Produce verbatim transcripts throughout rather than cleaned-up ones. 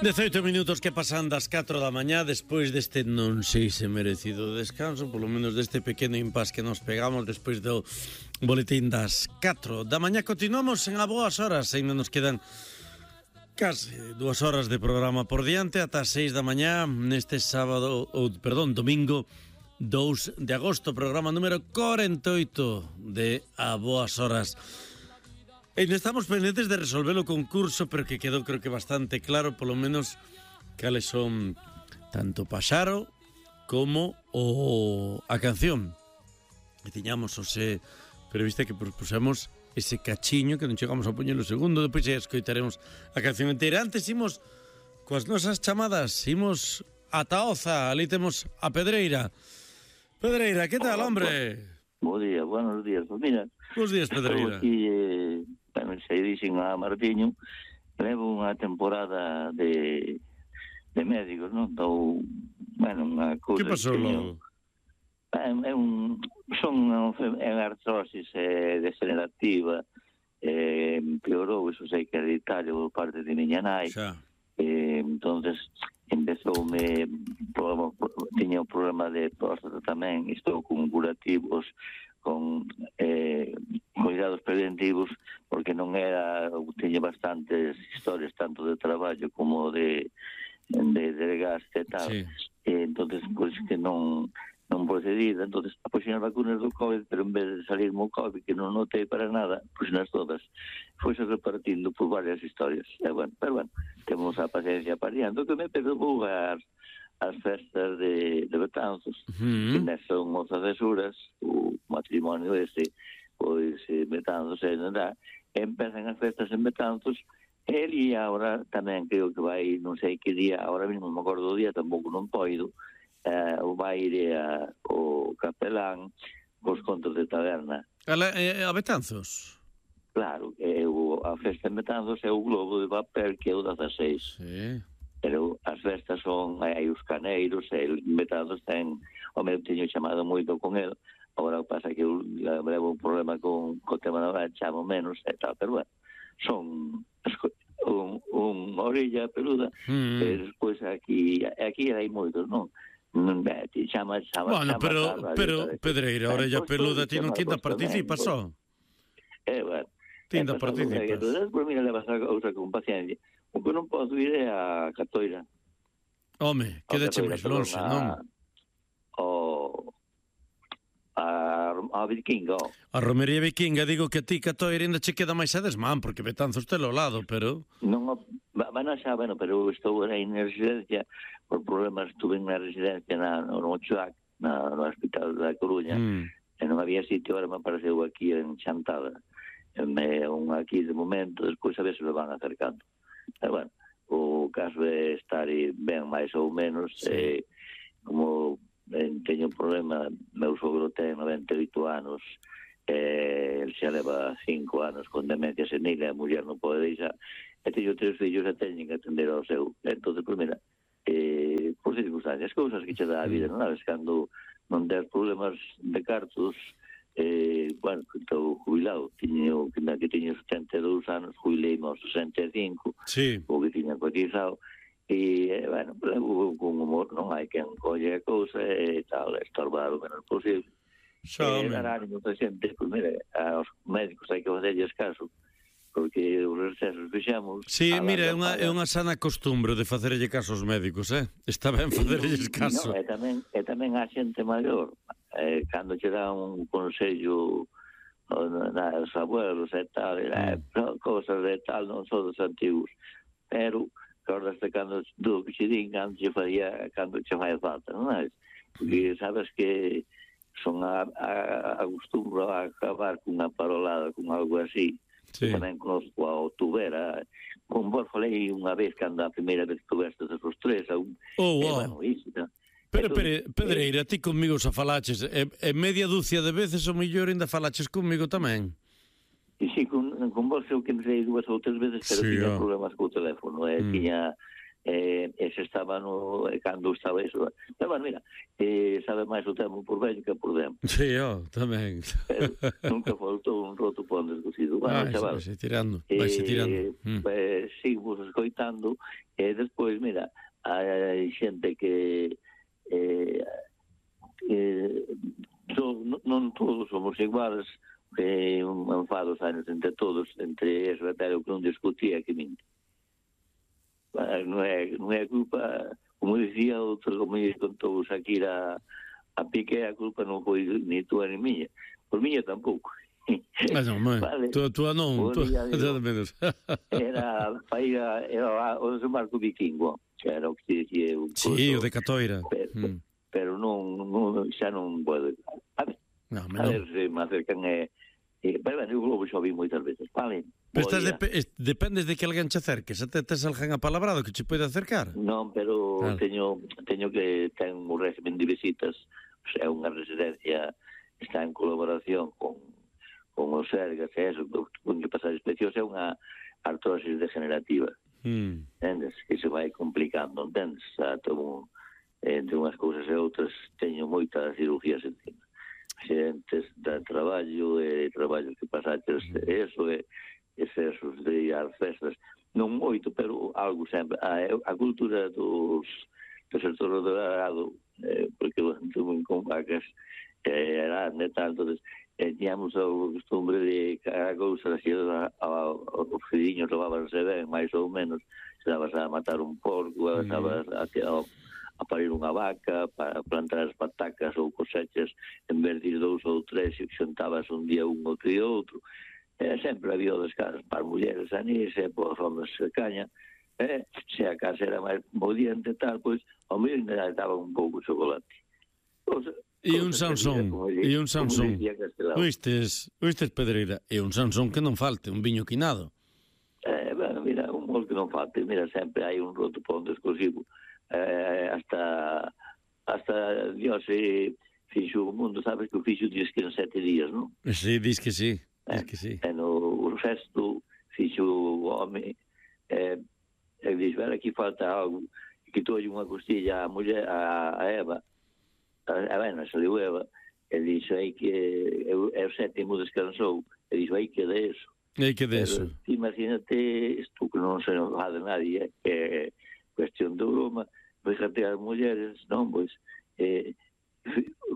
dezaoito minutos que pasan das catro da mañá despois deste non sei se merecido descanso, polo menos deste pequeno impas que nos pegamos despois do boletín das catro da mañá. Continuamos en a boas horas, ainda nos quedan case dúas horas de programa por diante ata as seis da mañá neste sábado, ou perdón, domingo dous de agosto, programa número corenta e oito de a boas horas. E estamos pendentes de resolver o concurso, pero que quedou creo que bastante claro, polo menos, cales son tanto Paxaro como o a canción. E tiñamos ose prevista que propusemos ese cachiño que non chegamos a poñer o segundo, depois xa escoitaremos a canción inteira. Antes imos coas nosas chamadas, imos a Taoza, ali temos a Pedreira. Pedreira, que tal, hombre? Bo día, buenos días. Pues mira, bos días, Pedreira. Aquí, eh, bueno, se dixen a Martiño, levo unha temporada de de médicos, non? Então, bueno, unha cousa... Que pasou logo? É, é un, son é artrosis é, degenerativa, é, empeorou, iso sei que hereditario por parte de miña nai. Xa. Eh, entonces empezoume tiña un problema de próstata tamén, estou con curativos, con eh, cuidados preventivos, porque non era, tiña bastantes historias tanto de traballo como de de, de gasto e tal. Sí. Eh, entonces pois que non non procedida, entonces apoxen as vacunas do COVID, pero en vez de salirme o COVID, que non notei para nada, pois nas todas foise repartindo por varias historias. E bueno, pero bueno, temos a paciencia pariando, que me perdou as, as festas de, de Betanzos, uh-huh. que nes son as cesuras, o matrimonio este, pois Betanzos e nada, empezan as festas en Betanzos, el e agora tamén creo que vai, non sei que día, agora mesmo me acordo do día, tampouco non poido, Uh, o baile a, o capelán cos contos de taberna. A, la, eh, a Betanzos? Claro, é o, a festa en Betanzos é o globo de papel que é o dezaseis. Sí. Pero as festas son, hai os caneiros, e en Betanzos ten, o meu teño chamado moito con el, agora pasa que eu levo un problema con o tema da hora, chamo menos e tal, pero bueno, son un, un orilla peluda, mm. e despois aquí, aquí hai moitos, non? Chama, chama, bueno, chama, pero, chama, pero chama, Pedreira, orella peluda, ti non quinta participa só. Eh, bueno. Tinda eh, participas. Despois, mira, levas a cousa con paciencia. O que non podo ir é a Catoira. Home, quedache máis longe, non? O... a, a Vikinga. A Romería Vikinga, digo que a ti Catoira ainda che queda máis a desmán, porque Betanzos telo ao lado, pero... Non, bueno, xa, bueno, pero estou aí na residencia, por problemas, estuve na residencia na, no Ochoac, na, no Hospital da Coruña, mm. e non había sitio, ahora me apareceu aquí en Chantada. Me, un aquí de momento, despois a ver se me van acercando. E, bueno, o caso é estar ben máis ou menos, sí. eh, como eh, teño un problema, meu sogro ten noventa e oito anos, eh, el xa leva cinco anos con demencia senil, a muller non pode deixar, e teño tres fillos e teñen que atender ao seu. Entón, pues, mira, eh, por circunstancias, cousas que che dá a vida, non sabes, cando non ter problemas de cartos, eh, bueno, estou jubilado, tiño, que tiño setenta e dous anos, jubilei aos sesenta e cinco, sí. O que tiña cotizado, e, eh, bueno, levo con humor, non hai quen colle a cousa e tal, estorbar o menos posible. Xa, e dar ánimo a xente, pois mira, aos médicos hai que facerlles caso, porque os recesos fixamos... Sí, mira, é unha, é unha sana costumbre de facerlle caso aos médicos, eh? Está ben facerlles caso. No, e tamén, e tamén a xente maior, eh, cando che dá un consello aos abuelos e tal, eh, mm. cosas de tal, non son dos antigos, pero acordaste cando do que che din, cando che faría, cando che fai falta, non é? Porque sabes que son a, a, a costumbro a acabar cunha parolada, con algo así. Sí. Tamén conozco a Tubera, con vos falei unha vez cando a primeira vez que tuveste esos tres, a un... Oh, wow. Eh, bueno, iso, ¿no? Pero, pero, Pedreira, ti comigo xa falaches, e, e media dúcia de veces o mellor ainda falaches comigo tamén. E si, con, con vos eu que me sei dúas ou tres veces, pero sí, tiña oh. problemas co teléfono, eh, mm. tiña eh, ese estaba no, cando estaba iso. Pero, bueno, mira, eh, sabe máis o temo por vello que por demo. Sí, yo, tamén. Pero nunca faltou un roto pon descosido. Bueno, Vai, chaval, vai tirando, vai eh, tirando. Mm. eh, sigo escoitando, e despois, mira, hai xente que eh, eh, so, non todos somos iguales, que un enfado anos entre todos, entre eso, pero que non discutía que min. Non é, non é culpa, como dicía outro, como lle contou Shakira a Piqué, a culpa non foi ni túa ni miña, por miña tampouco. Ah, non, mãe, vale. Tua, tua non, tua, nada menos. Era, era, era o de Marco Vikingo, que era o que dicía un sí, o de Catoira. Pero, mm. pero non, non, xa non pode. A ver, no, a ver se me acercan e... Eh, pero, bueno, o Globo xa vi moitas veces, vale? Pero estás de, dependes de que alguén che acerque, se te tes alguén apalabrado que che pode acercar? Non, pero ah. teño, teño que ten un régimen de visitas, o sea, unha residencia está en colaboración con con os Sergas e eso, con que pasar inspeccións é unha artrosis degenerativa. Mm. Entendes? Que se vai complicando, entendes? O sea, tomo, entre unhas cousas e outras teño moitas cirugías encima. Xentes de traballo e traballo que pasaches mm. eso e excesos de ir ás festas. Non moito, pero algo sempre. A, a cultura dos do sector do arado, eh, porque eu anduve con vacas eh, grande e tal, entonces eh, tíamos a costumbre de cada cousa así, os filliños levábanse ben, máis ou menos, se dabas a matar un porco, mm. dabas a, a, a parir unha vaca, para plantar as patacas ou cosechas, en vez de dous ou tres, e xuntabas un día un outro e outro. Eh, sempre había o descanso para as mulleres anís, e para os homens se caña, eh, se a casa era máis modiente e tal, pois, ao menos ainda daba un pouco de chocolate. O sea, e un Sansón, e un Sansón. Oistes, oistes Pedreira, e un Sansón que non falte, un viño quinado. Eh, bueno, mira, un gol que non falte, mira, sempre hai un roto pon exclusivo. Eh, hasta hasta Dios se fixo o mundo, sabes que o fixo diz que en sete días, non? Sí, diz que sí, diz que sí. E no o resto fixo o home, eh, e diz, ver, aquí falta algo, que tolle unha costilla a muller, a, a Eva, a ben, saliu Eva, e dixo aí que é o sétimo descansou, e dixo aí que de eso. Aí que de eso. Imagínate isto que non se nos va de nadie, que é cuestión de broma, fíjate as mulleres, non, pois, eh,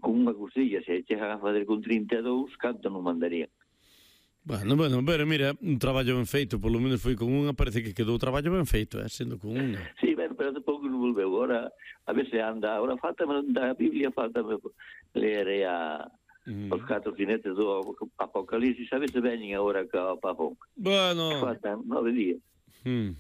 con unha costilla, se chegan a fazer con trinta e dous, canto non mandarían. Bueno, bueno, pero mira, un traballo ben feito, polo menos foi con unha, parece que quedou o traballo ben feito, eh, sendo con unha. Sí, bueno, pero tampouco non volveu, agora, a ver se anda, agora faltame da Biblia, faltame ler a, mm. os catro jinetes do Apocalipsis, a ver se veñen agora ca o Pafón. Bueno. Faltan nove días. Mm.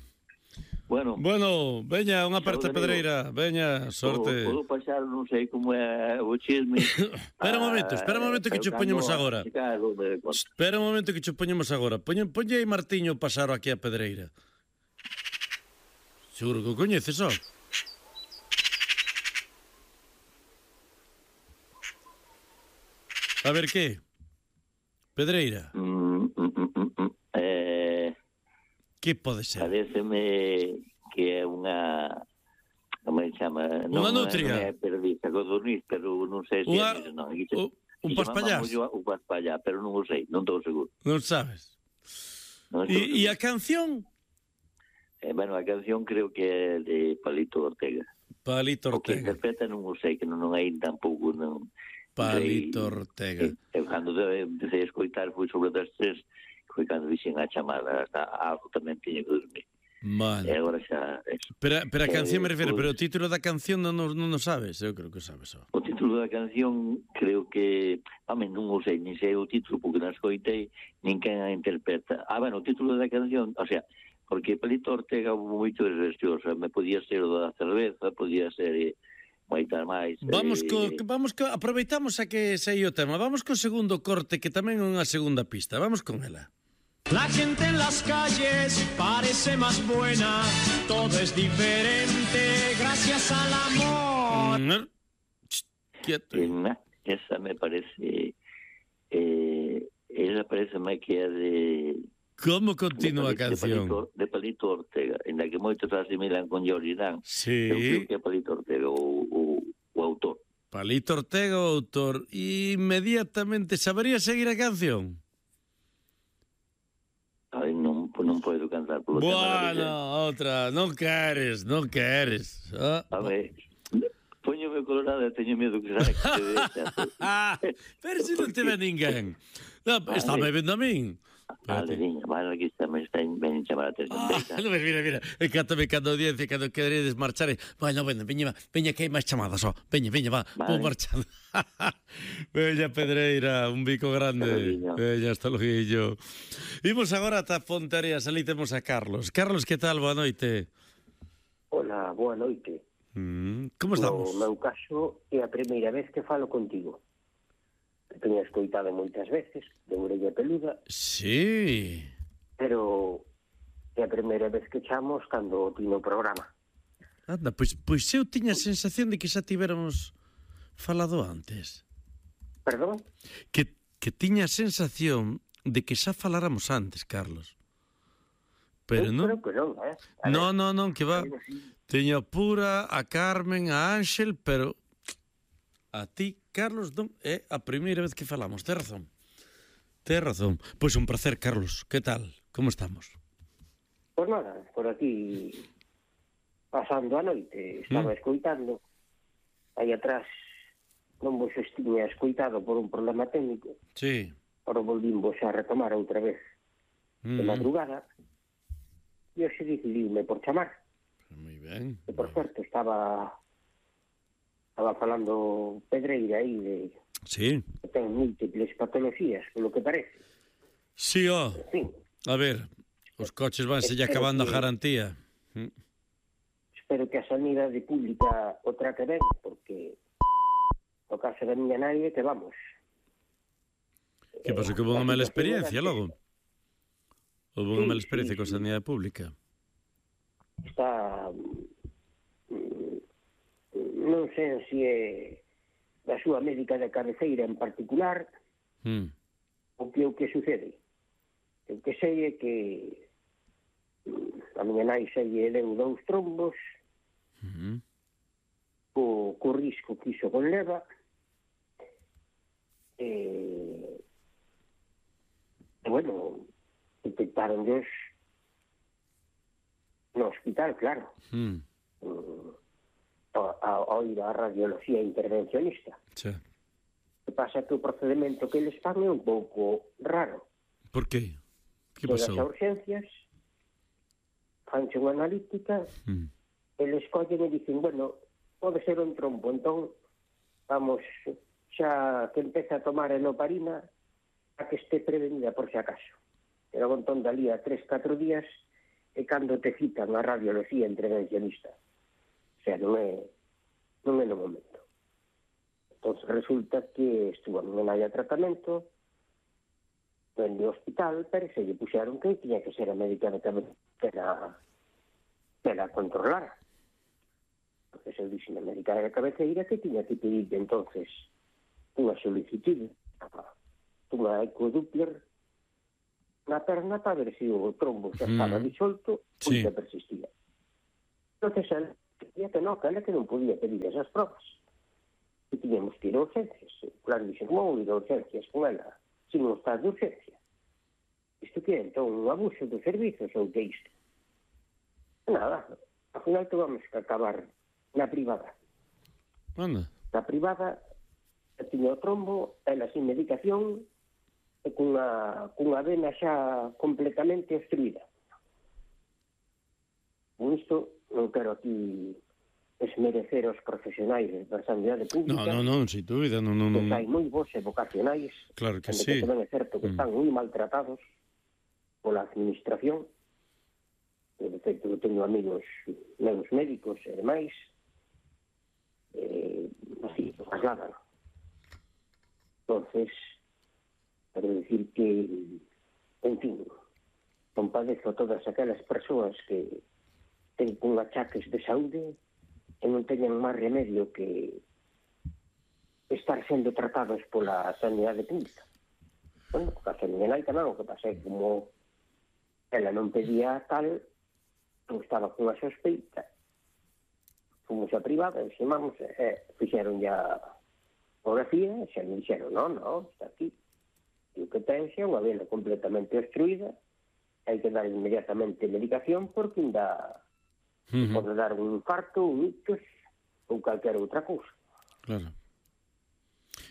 Bueno, bueno, veña, unha aperta Pedreira, veña, sorte. Podo pasar, non sei como é o chisme. Espera un momento, espera un momento que che poñemos agora. Espera un momento que che poñemos agora. Poñe, poñe aí Martiño pasaro aquí a Pedreira. Seguro que o coñeces, ó. A ver, que? Pedreira. Mm, mm, mm, mm, eh... Que pode ser? Pareceme que é unha... Como se chama? Unha nutria? Non é perdiza, codorniz, pero non sei se Una... é... Non, o... Un paspallás? Un paspallás, pero non o sei, non estou seguro. Non sabes? Non e, e a canción? Eh, bueno, a canción creo que é de Palito Ortega. Palito Ortega. O que interpreta non o sei, que non, non hai tampouco... Non, Palito Ortega. E, e cando empecé a escoitar foi sobre das tres... foi cando dixen a chamada, algo tamén tiña que dormir. Vale. E agora xa... Pero, pero a canción me refiro, pero o título da canción non, non, non sabes? Eu creo que sabes. Ó. O título da canción creo que... Home, non o sei, nin sei o título porque non escoitei, nin quen a interpreta. Ah, bueno, o título da canción, o sea, porque Palito Ortega houve moito de restioso, me podía ser o da cerveza, podía ser... Eh, moitas máis. Vamos co, eh... vamos co, aproveitamos a que sei o tema. Vamos co segundo corte que tamén é unha segunda pista. Vamos con ela. La gente en las calles parece más buena, todo es diferente gracias al amor. Mm, quieto. Eh, esa me parece, eh, esa parece máis que é de, Como continúa a de Palito, canción? de Palito, de Palito Ortega, en la que moitos asimilan con Jordan. Sí. Eu creo que é Palito Ortega o, o, o autor. Palito Ortega, o autor. Inmediatamente, sabería seguir a canción? Ai, non, non podo cantar polo tema da Bueno, licencia. outra, non queres, non queres. Ah, A ver, poñome colorado e teño medo que saia que se deixa. ah, pero se non te ve ninguén. No, está me vendo a min. Vale, niña, vale, aquí está, me está ben chamar a atención. Ah, no, mira, mira, encántame cando a audiencia, cando queredes marchar. Bueno, bueno, veña, va, veña que hai máis chamadas, ó. Veña, veña, va, Vale. vou marchando. Veña, Pedreira, un bico grande. Hasta Veña, hasta loguillo. Imos agora ata Fonterías, ali temos a Carlos. Carlos, que tal? Boa noite. Hola, boa noite. Mm, como No estamos? meu caso, é a primeira vez que falo contigo. Te teña escoitado moitas veces, de orella peluda, Sí. pero é a primeira vez que chamos cando ti no programa. Anda, pois, pois eu tiña a sensación de que xa tivéramos falado antes. Perdón? Que, que tiña a sensación de que xa faláramos antes, Carlos. Pero Eu non. creo que non, eh? A Non, ver, non, non, que va. algo así. Teño a Pura, a Carmen, a Ángel, pero a ti, Carlos, non é a primeira vez que falamos. Tes razón. Tes razón. Pois un placer, Carlos. Que tal? Como estamos? Pois nada, por aquí pasando a noite, estaba Mm. escoitando. Aí atrás non vos estiña escoitado por un problema técnico, Sí. pero volvimos a retomar outra vez de Mm. madrugada. E hoxe decidiume por chamar. Moi ben. Que, por certo, estaba estaba falando Pedreira aí de Sí. que ten múltiples patologías, polo que parece. Sí, ó. En fin, A ver, os coches vanse lle acabando a garantía. Mm. espero que a sanidade pública o trate ben, porque o caso da miña nai é que vamos. Que pasou? Que houve unha mala experiencia logo? Houve unha Sí, mala experiencia sí, con sí. sanidade pública? Está... mm, non sei se é da súa médica de cabeceira en particular Mm. o que o que sucede. O que sei é que mm, a miña nai se lle deu dous trombos, Mm. co, co risco que iso conleva, e, e bueno, detectaron Dios no hospital, claro, Mm. mm, a, a, a ir a radiología intervencionista. Sí. O que pasa é que o procedimento que eles fan é un pouco raro. Por qué? Que Chegas a pasou? urgencias, fanche unha analítica, Mm. eles collen e dicen, bueno, pode ser un trombo, entón vamos xa que empeza a tomar enoparina a que este prevenida por si acaso. Pero entón dalí a tres, catro días e cando te citan a radiología intervencionista. O sea, non é, non é no momento. Entón resulta que estuvo a miña nai a tratamento, en o hospital, pero se lle puxeron que tiña que ser a médica de cabeceira que la, que la controlara. Porque se dixe na médica de cabeceira que tiña que pedir entonces unha solicitude, unha ecodoppler na perna para ver se o trombo xa estaba Mm. disolto ou Sí. xa persistía. Entonces, ela decía que non, que ela que non podía pedir esas provas. Que tiñamos que ir a urgencias. Claro, dixen, como ir a urgencias con ela, sin un estado de urgencia? Isto que é, entón, un abuso dos servizos ou que isto? Nada, ao final tuvamos que acabar na privada. Anda. Na privada, tiña o trombo, ela sin medicación, e cunha, cunha vena xa completamente obstruída. Con isto, non quero aquí esmerecer os profesionais da sanidade No, pública, no, non, sin dúbida, non, non, que non. hai moi bons e vocacionais, Claro que onde sí. que tamén é certo que Mm. están moi maltratados pola administración. E, de feito, eu teño amigos meus médicos e demais, eh, así, lo trasladan. Entonces, quero dicir que, en fin, compadezo a todas aquelas persoas que ten con achaques de saúde e non teñen máis remedio que estar sendo tratados pola sanidade pública. Bueno, porque a miña nai tamén o que pasa é como ela non pedía tal, non estaba con a sospeita, fomos a privada, enximamos, e fixeron ya fotografía, e xa me dixeron, non, non, está aquí. E o que ten xa unha vena completamente obstruída, hai que dar inmediatamente medicación porque ainda uh-huh. pode dar un infarto, un ictus ou calquera outra cousa. Claro.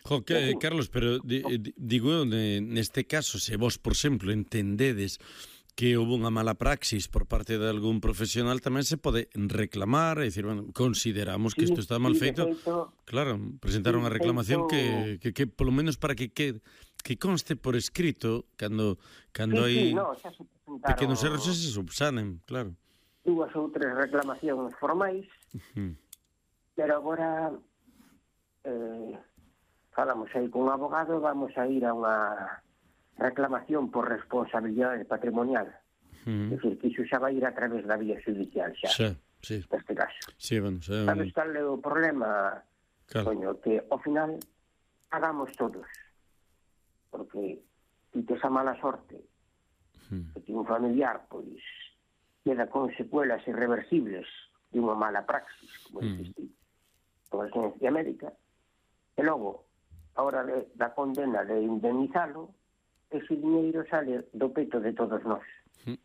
Jo, que, Carlos, pero di, di, digo, neste caso, se vos, por exemplo, entendedes que houve unha mala praxis por parte de algún profesional, tamén se pode reclamar e dicir, bueno, consideramos que isto está mal feito. feito. Claro, presentar unha reclamación feito... que, que, que, polo menos para que que, que conste por escrito, cando, cando sí, hai sí, no, xa se pequenos erros se subsanen, claro. Dúas ou tres reclamacións formais, uh-huh. pero agora eh, falamos aí con un abogado, vamos a ir a unha reclamación por responsabilidade patrimonial. Uh-huh. É dicir, que iso xa vai ir a través da vía judicial xa, xa sí. neste caso. Sí, bueno, xa... Sabes cal é o problema, claro. Coño, que ao final pagamos todos. Porque si tes a mala sorte uh-huh. que ti un familiar, pois, queda con secuelas irreversibles de unha mala praxis, como uh-huh. dixiste, con a ciencia médica, e logo, a hora de, da condena de indemnizalo, ese dinheiro sale do peto de todos nós. Uh-huh.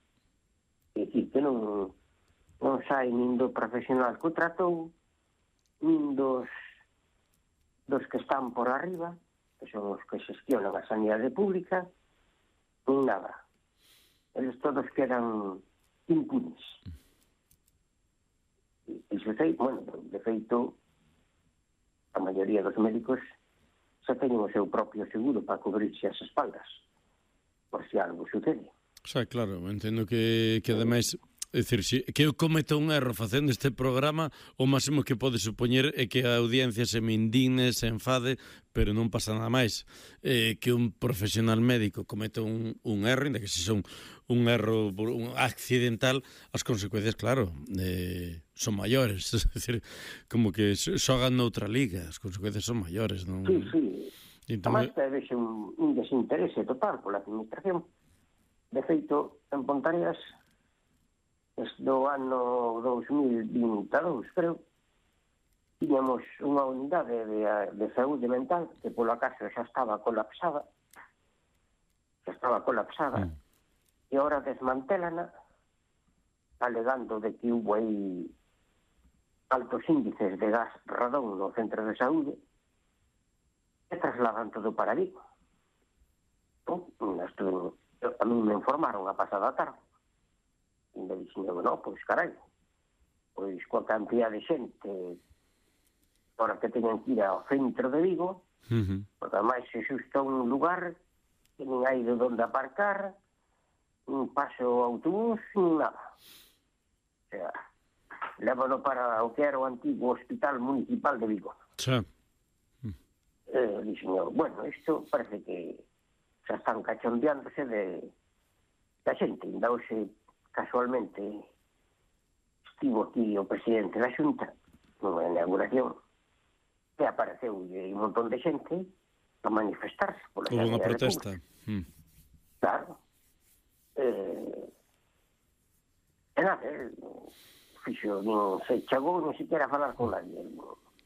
É dicir, que non, non sai nin do profesional que o tratou, nin dos, dos que están por arriba, que son os que xestionan a sanidade pública, nin nada. Eles todos quedan impunes. E iso sei, bueno, de feito, a maioría dos médicos xa teñen o seu propio seguro para cubrirse as espaldas, por si algo sucede. Xa, claro, entendo que, que ademais, é dicir, si, que eu cometa un erro facendo este programa, o máximo que pode supoñer é que a audiencia se me indigne, se enfade, pero non pasa nada máis. Eh, que un profesional médico cometa un, un erro, ainda que se son un erro un accidental, as consecuencias, claro, eh, son maiores. É dicir, como que xogan noutra liga, as consecuencias son maiores, non? Sí, sí. Entón... Además, debe ser un, un desinterese total pola administración. De feito, en Pontareas, desde o ano dos mil vinte e dous, creo, tiñamos unha unidade de, de saúde mental que, polo acaso, xa estaba colapsada, xa estaba colapsada, mm. e agora desmantélana, alegando de que hubo aí altos índices de gas radón no centro de saúde, e trasladan todo para Vigo. No, a mí me informaron a pasada tarde. E me dixen, no, pois carai, pois coa cantidad de xente para que teñan que ir ao centro de Vigo, uh-huh. porque ademais se xusta un lugar que nin hai de onde aparcar, nin paso autobús, nin nada. O sea, lévano para o que era o antigo Hospital Municipal de Vigo. Sí. Eh, dixen, bueno, isto parece que xa están cachondeándose de da xente. Ainda hoxe, casualmente, estivo aquí o presidente da Xunta nunha inauguración e apareceu un montón de xente a manifestarse pola sanidade pública. Houve unha protesta. Mm. Claro. Eh, e nada, fixo, non se chegou non siquiera a falar con nadie.